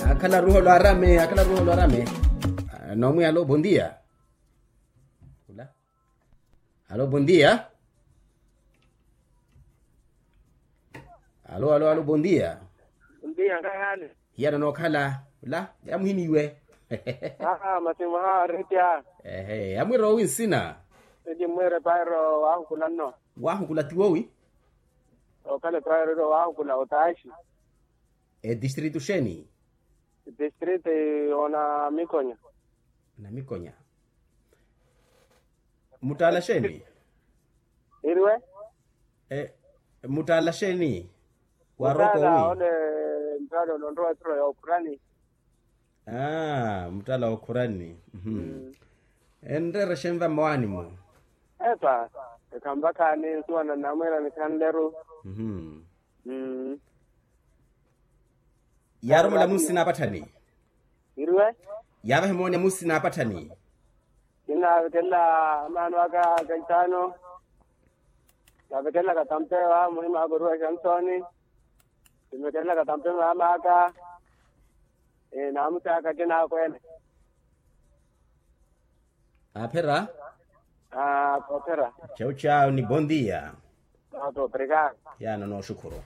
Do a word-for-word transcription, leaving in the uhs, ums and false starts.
Akhala ruholo arame akhala ruholo arame. Nomwi alo bondia. Alo bondia. Alo alo alo bondia. Bondia nkahani. Hiyana nookhala ula yamuhiniwe. Aa masimu ha aritya. Ehe amwira owi nsina. Edi mwire pairo wahukula nno. Wahukula tiwowi. Okhala pairo iro wahukula otaxi. Edistritu xeeni? Distrito onamikonya. Namikonya. Muttaala xeeni? Iriwe. Muttaala xeeni? Warooka owi? Ole. Muttaala ononrowa eturo ya okhurani. Aa muttaala wa okhurani. Enreere xenva mmowaani-mo? Epa. Ekhampakhaani nsuwana nnamwiira nikhanleru. Yaarumula musi naapatthani. Iriwe. Yaavahe mooni ya musi naapatthani. Kinaavekelela amaano aka kaitaano. Navekelela katampe wa muhima aka oruwa exansoni. Kivekelela katampe maama aka. Naamusi aka kinaakweene. Aaphera. Aa koophera. Chau chau ni bondia. Oto obrigado. Yaana nooxukhuru.